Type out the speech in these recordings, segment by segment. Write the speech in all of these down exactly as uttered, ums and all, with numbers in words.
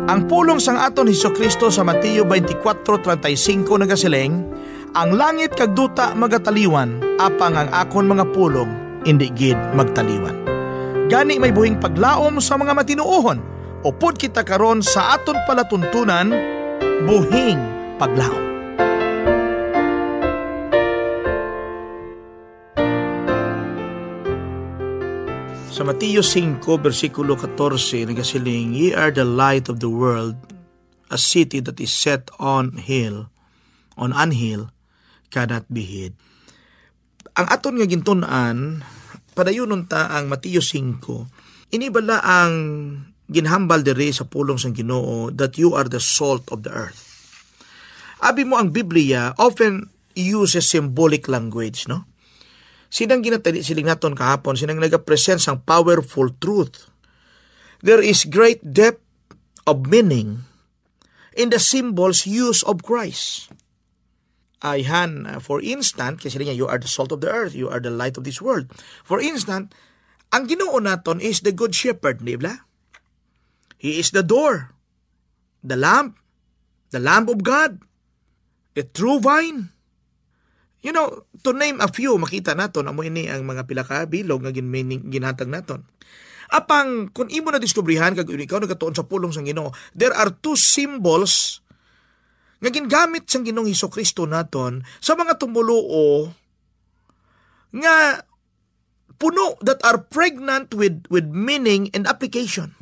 Ang pulong sang aton Jesu-Cristo sa Mateo twenty-four thirty-five nagasiling, "Ang langit kag duta magataliwan, apang ang akon mga pulong indi gid magtaliwan." Gani may buhing paglaom sa mga matinuohon. Upod kita karon sa aton palatuntunan, buhing paglaom. Sa Mateo singko, bersikulo katorse, nagasiling, "Ye are the light of the world. A city that is set on hill, on an hill, cannot be hid." Ang aton nga gintun-an, padayunon ta ang Mateo singko. Ini bala ang ginhambal diri sa pulong sang Ginoo, that you are the salt of the earth. Abi mo, ang Biblia often uses symbolic language, no? Sinang ginatali siling naton kahapon, sinang nagapresent sang powerful truth. There is great depth of meaning in the symbols use of Christ. Ayhan, uh, for instance, kasi niya, "You are the salt of the earth, you are the light of this world." For instance, ang Ginoo naton is the good shepherd, di ba? He is the door, the lamp, the lamp of God, the true vine. You know, to name a few, makita naton, amo ini ang mga pila ka bilog nga gin-, meaning, ginhatag naton. Apang, kung imo na diskubrihan, kag ikaw nagatuon sa pulong sang Ginoo, there are two symbols nga gingamit sang Ginoong Hesus-Kristo naton sa mga tumuluo nga puno, that are pregnant with, with meaning and application.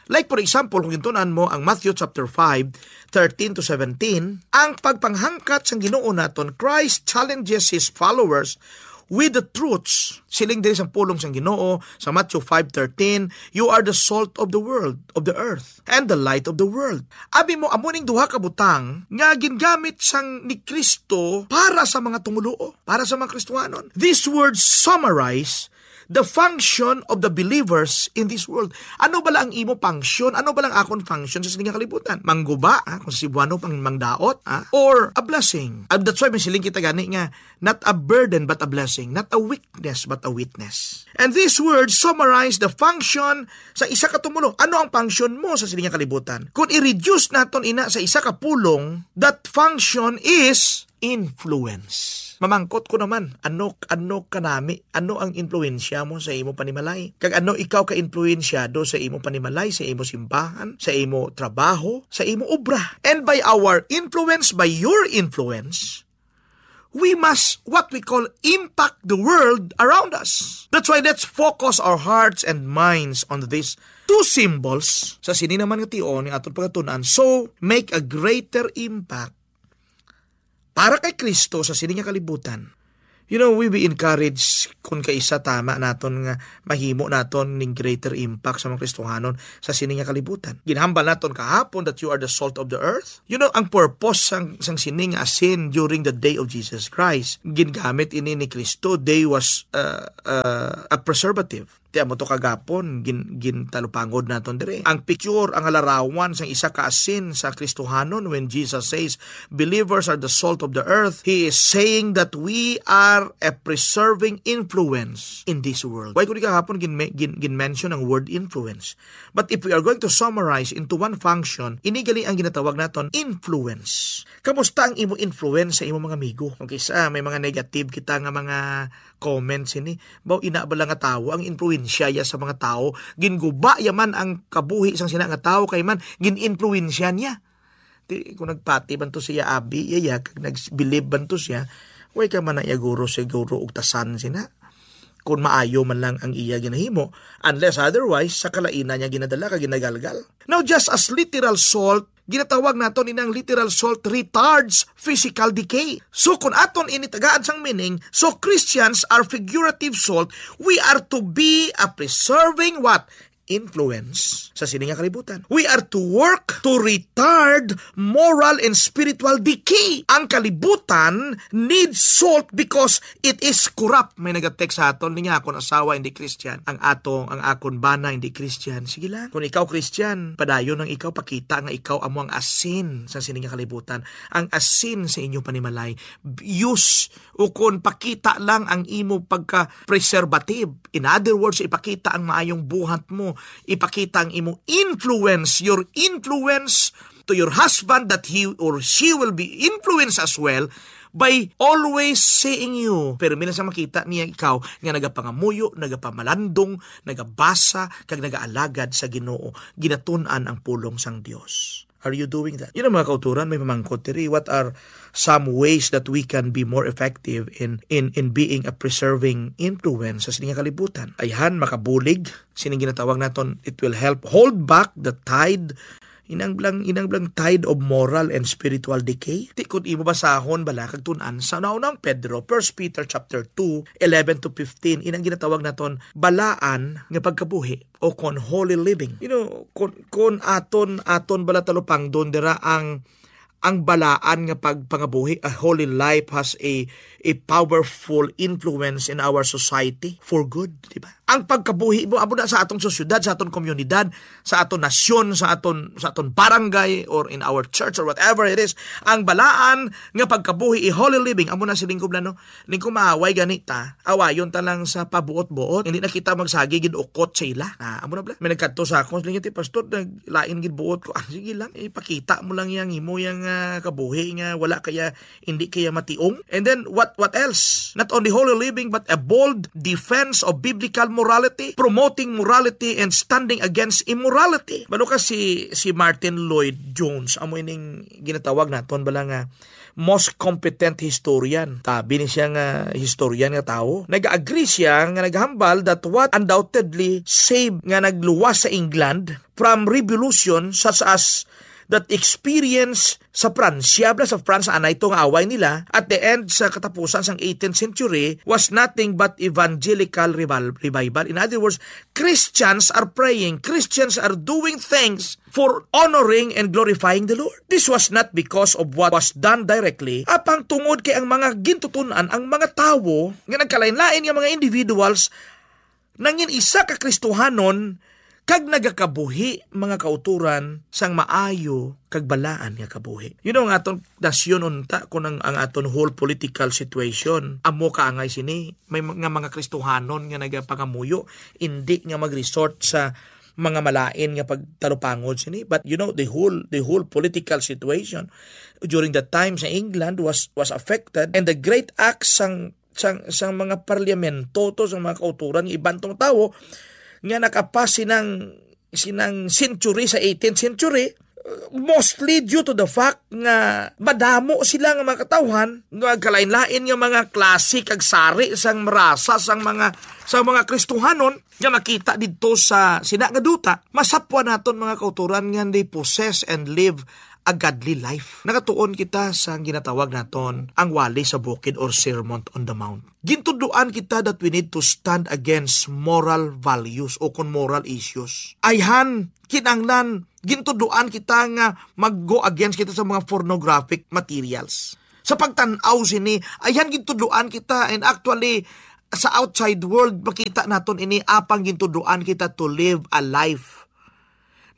Like, for example, kung gintunan mo ang Matthew chapter five, thirteen to seventeen, ang pagpanghangkat sang Ginoo naton, Christ challenges his followers with the truths. Siling diri sang pulong sang Ginoo sa Matthew five thirteen, "You are the salt of the world, of the earth, and the light of the world." Abi mo, amo ning duha ka butang nga gingamit sang ni Kristo para sa mga tumuluo, para sa mga Kristohanon. These words summarize the function of the believers in this world. Ano bala ang imo function? Ano bala ang akon function sa sini nga kalibutan? Mangguba, ha? Kung sa Cebuano, pang mangdaot, ha? Or a blessing? Ah, that's why may siling kita gani nga, "Not a burden, but a blessing. Not a weakness, but a witness." And this word summarize the function sa isa ka tumuluo. Ano ang function mo sa sini nga kalibutan? Kung i-reduce naton ina sa isa ka pulong, that function is influence. Mamangkot ko naman, ano, ano kanami, ano ang influensya mo sa imo panimalay? Kag ano ikaw ka-influensyado sa imo panimalay, sa imo simbahan, sa imo trabaho, sa imo obra? And by our influence, by your influence, we must, what we call, impact the world around us. That's why let's focus our hearts and minds on these two symbols. Sa sini naman nga tion ni aton pagatunan, so make a greater impact para kay Kristo sa sini nga kalibutan. You know, we be encouraged kung kaisa tama naton nga mahimo naton ning greater impact sa mga Kristohanon sa sini nga kalibutan. Ginhambal naton kahapon that you are the salt of the earth. You know, ang purpose sang, sang sini nga asin during the day of Jesus Christ, gingamit ini ni Kristo. They was, uh, uh, a preservative. Ti amo to kagapon, gin-, gintalupangod naton diri. Ang picture, ang larawan sang isa ka asin sa Kristohanon when Jesus says, "Believers are the salt of the earth," he is saying that we are a preserving influence in this world. Why ko di kagapon gin-, gin-, gin-mention ang word influence? But if we are going to summarize into one function, ini gali ang ginatawag naton influence. Kamusta ang imo influence sa imo mga amigo? Okay, sa may mga negative kita nga mga comments ini. Baw, ina bala nga tawo, ang influensya ya sa mga tawo. Ginguba ya man ang kabuhi sang sina nga tawo kay man gin-influensya niya. Ti, kung nagpati man to siya abi, iya, kag nagbilib man to siya, way ka man na iya guro, siguro og tasan sina. Kung maayo man lang ang iya ginahimo, unless otherwise, sa kalainan niya ginadala kag ginagalgal. Now, just as literal salt, ginatawag naton inang literal salt retards physical decay. So, kung aton ini tagaan sang meaning, so Christians are figurative salt, we are to be a preserving what? Influence sa sini nga kalibutan. We are to work to retard moral and spiritual decay. Ang kalibutan needs salt because it is corrupt. May nagatext sa aton, niya, "Akon asawa hindi Christian. Ang atong, ang akon bana hindi Christian." Sige lang. Kung ikaw Christian, padayon ang ikaw pakita nga ikaw amo ang asin sa sini nga kalibutan. Ang asin sa inyo panimalay. Use o kon pakita lang ang imo pagka-preservative. In other words, ipakita ang maayong buhat mo Ipakita ang imong influence, your influence to your husband, that he or she will be influenced as well by always seeing you. Pero mila sa makita niya ikaw nga nagapangamuyo, nagapamalandong, nagabasa, kag nagaalagad sa Ginoo, ginatun-an ang pulong sang Dios. Are you doing that? You know, mga kauturan, may pamangkot diri, what are some ways that we can be more effective in in in being a preserving influence sa sining kalibutan? Ayhan, makabulig, sining ginatawag naton, it will help hold back the tide, inang blang inang blang tide of moral and spiritual decay. Ti kun imo basahon bala kag tun-an sa naunang Pedro, First Peter chapter two, eleven to fifteen, inang ginatawag naton balaan nga pagkabuhi o kon holy living. You know, kon, kon aton, aton bala talupangdon dira ang, ang balaan nga pagpangabuhi, a holy life has a, a powerful influence in our society for good, di ba? Ang pagkabuhi mo, amo na sa atong sosyedad, sa atong komunidad, sa atong nasyon, sa aton, sa aton barangay, or in our church, or whatever it is, ang balaan nga pagkabuhi, a holy living, amo na siling ko bala, no? Ning kumaaway gani ta, awayon ta lang sa pabuot-buot. Hindi na kita magsagi gid ukot sa ila. Ah, amo na bala. May nagkadto sa akon, siling niya, "Ti, pastor, naglain gid buot ko." Ah, sige lang, ipakita mo lang yang imo yang, ah, kabuhi nga wala kaya, hindi kaya mationg. And then, what, what else? Not only holy living, but a bold defense of biblical morality, promoting morality and standing against immorality. Balo ka si, si Martin Lloyd Jones, amo ining ginatawag naton bala nga most competent historian. Tabi ni siya nga historian nga tawo. Nag-agree siya nga naghambal that what undoubtedly saved nga nagluwas sa England from revolution such as that experience sa Pransya, bala sa France, anay to nga away nila, at the end sa katapusan sang eighteenth century was nothing but evangelical revival, revival. In other words, Christians are praying, Christians are doing things for honoring and glorifying the Lord. This was not because of what was done directly, apang tungod kay ang mga gintutunan, ang mga tawo nga nagkalain-lain nga mga individuals nangin isa ka Kristohanon kag nagakabuhi, mga kauturan, sang maayo kag balaan nga kabuhi. You know, ang aton nasyon unta, kung ang, ang aton whole political situation, amo kaangay sini, may mga, mga Kristohanon nga nagapangamuyo, indi nga mag-resort sa mga malain nga pagtalupangon sini. But you know, the whole, the whole political situation during that time sa England was, was affected, and the great acts sang, sang, sang mga parliamento to, sa mga kauturan nga iban tong tawo nga nakapas sinang, sinang century, sa eighteenth century, uh, mostly due to the fact nga madamo sila nga mga katawhan nga kalain-lain nga mga klase kag sari sang marasa sang mga, sang mga Kristohanon nga makita didto sa sina nga duta. Masapwan naton, mga kauturan, nga they possess and live a godly life. Nakatuon kita sa ginatawag naton ang Wali sa Bukid or Sermon on the Mount. Gintudloan kita that we need to stand against moral values o kon moral issues. Ayhan, kinahanglan, gintudloan kita nga mag-go against kita sa mga pornographic materials. Sa pagtan-aw sini, ayhan, gintudloan kita, and actually, sa outside world, makita naton ini, apang gintudloan kita to live a life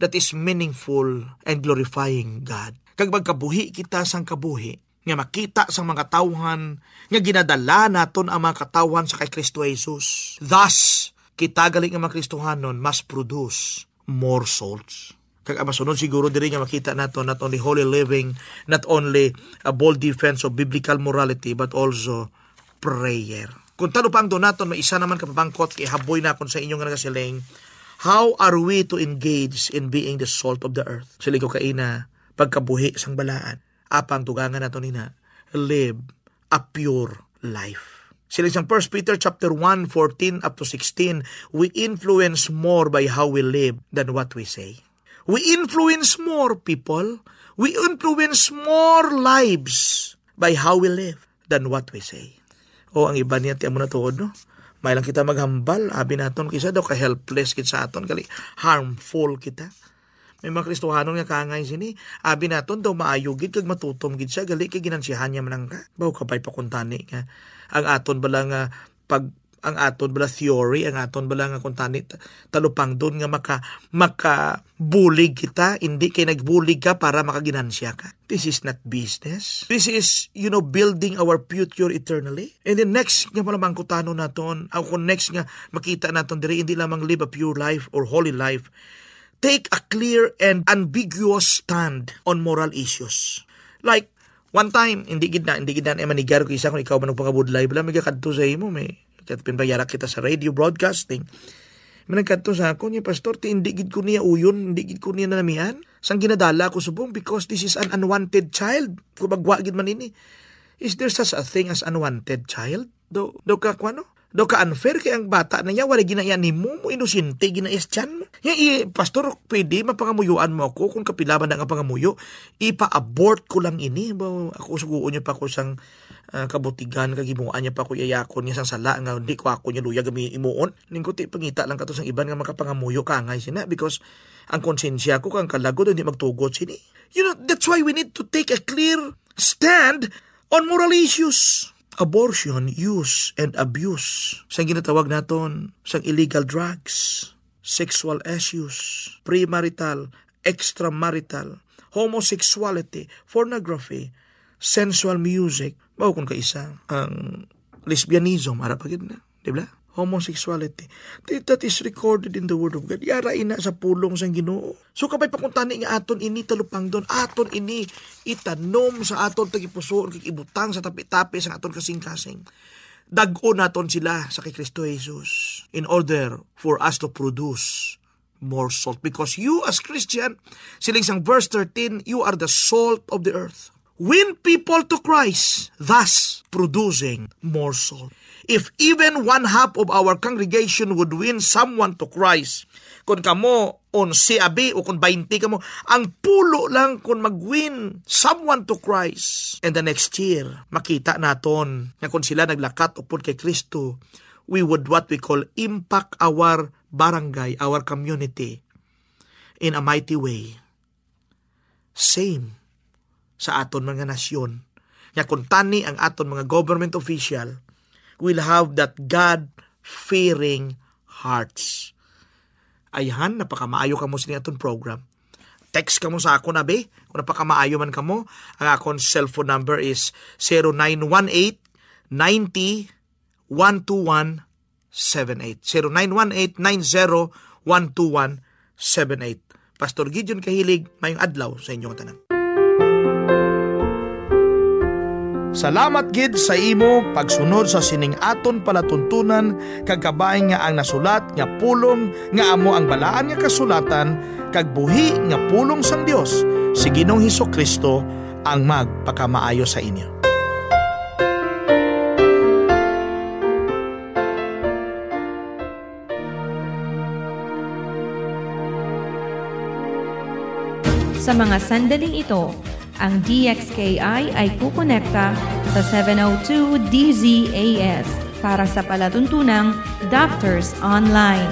that is meaningful and glorifying God. Kag magkabuhi kita sang kabuhi nga makita sang mga tawhan nga ginadala naton ang mga katawhan sa kay Kristo Jesus. Thus, kita gali nga mga Kristohanon must produce more souls. Kag ang masunod siguro diri nga makita nato, not only holy living, not only a bold defense of biblical morality, but also prayer. Kung talupangdon naton, may isa naman ka pamangkot, ihaboy nakon sa inyo nga nagasiling, "How are we to engage in being the salt of the earth?" Siling ko kaina, pagkabuhi sang balaan. Apang dugangan nato nina, live a pure life. Siling sang First Peter chapter one, fourteen up to sixteen, we influence more by how we live than what we say. We influence more people. We influence more lives by how we live than what we say. O, ang iban niya, ti amo na tuod, no? May lang kita maghambal, abi naton, kisa daw ka-helpless gid sa aton, gali, harmful kita. May mga Kristohanon nga kangay sini, abi naton daw maayo gid kag matutom gid siya, gali kay ginansihan niya man lang ka. Baw, kabay pa kuntani nga ang aton bala nga pag ang aton bala theory, ang aton bala nga kuntani ta-, talupangdon nga maka-, makabulig kita, hindi kay nagbulig ka para makaginansya ka. This is not business. This is, you know, building our future eternally. And then next nga pala mangkutano naton, o kung next nga makita naton diri, hindi lamang live a pure life or holy life. Take a clear and ambiguous stand on moral issues. Like, one time, hindi gid na, hindi gid na manigar ko isa kung ikaw man nagpangabudlay, bala, may kakadto sa imo, may kat-, pinbayara kita sa radio broadcasting. May nagkadto sa ako niya, "Pastor, ti hindi gid ko niya uyon, hindi gid ko niya nalamian. Sang ginadala ako subong because this is an unwanted child." Kung magwa gid man ini, is there such a thing as unwanted child? Do, do ka, kuwano? Do ka unfair kay ang bata na niya, wala ginaya nimo, mo inosente, ginaya sa tiyan mo. Nga, i-, "Pastor, pwede, mapangamuyuan mo ako kung kapila man na nga pangamuyo, ipa-abort ko lang ini." Ba, ako suguon niya pa ko sang, ah, kabutigan, kagimuan niya pa ko yayakon niya sang sala nga hindi ko ako niya luyag gami imuon. Ningkuti pangita lang kato sang iban nga makapangamuyo ka angay sina because ang konsensya ko kang kalagod hindi magtugot sini. You know, that's why we need to take a clear stand on moral issues. Abortion, use, and abuse. Sang ginatawag naton sang illegal drugs, sexual issues, premarital, extramarital, homosexuality, pornography, sensual music, mao kun kaisa ang lesbianism, ara pa gid na, di ba? Homosexuality. Th-, that is recorded in the Word of God. Yara ina sa pulong sang Ginoo. So, kabay pa kung tani nga aton ini talupangdon, aton ini itanom sa aton tagipusoon, kag ibutang sa tapi-tapi sa aton kasing-kasing. Dag-on naton sila sa kay Kristo Jesus in order for us to produce more salt. Because you as Christian, siling sang verse thirteen, you are the salt of the earth. Win people to Christ, thus producing more salt. If even one half of our congregation would win someone to Christ, kung kamo onse abi o kung baynte kamo, ang pulo lang kung mag-win someone to Christ. And the next year, makita naton nga kung sila naglakat upod kay Kristo, we would what we call impact our barangay, our community in a mighty way. Same sa aton mga nasyon. Nga kung tani ang aton mga government official will have that God-fearing hearts. Ayhan, napakamaayo kamo sini aton program. Text kamo sa akon, abi. Kung napakamaayo man kamo, ang akon cellphone number is zero nine one eight, ninety, one two one seven eight. Zero nine one eight, nine zero, one two one seven eight. Pastor Gideon Kahilig, mayong adlaw sa inyong tanan. Salamat gid sa imo pagsunod sa sining aton palatuntunan, kag kabay nga ang nasulat nga pulong nga amo ang Balaan nga Kasulatan kag buhi nga pulong sang Dios si Ginoong Hesus-Kristo ang magpakamaayo sa inyo. Sa mga sandaling ito, ang D X K I ay kukonekta sa seven oh two D Z A S para sa palatuntunang Doctors Online.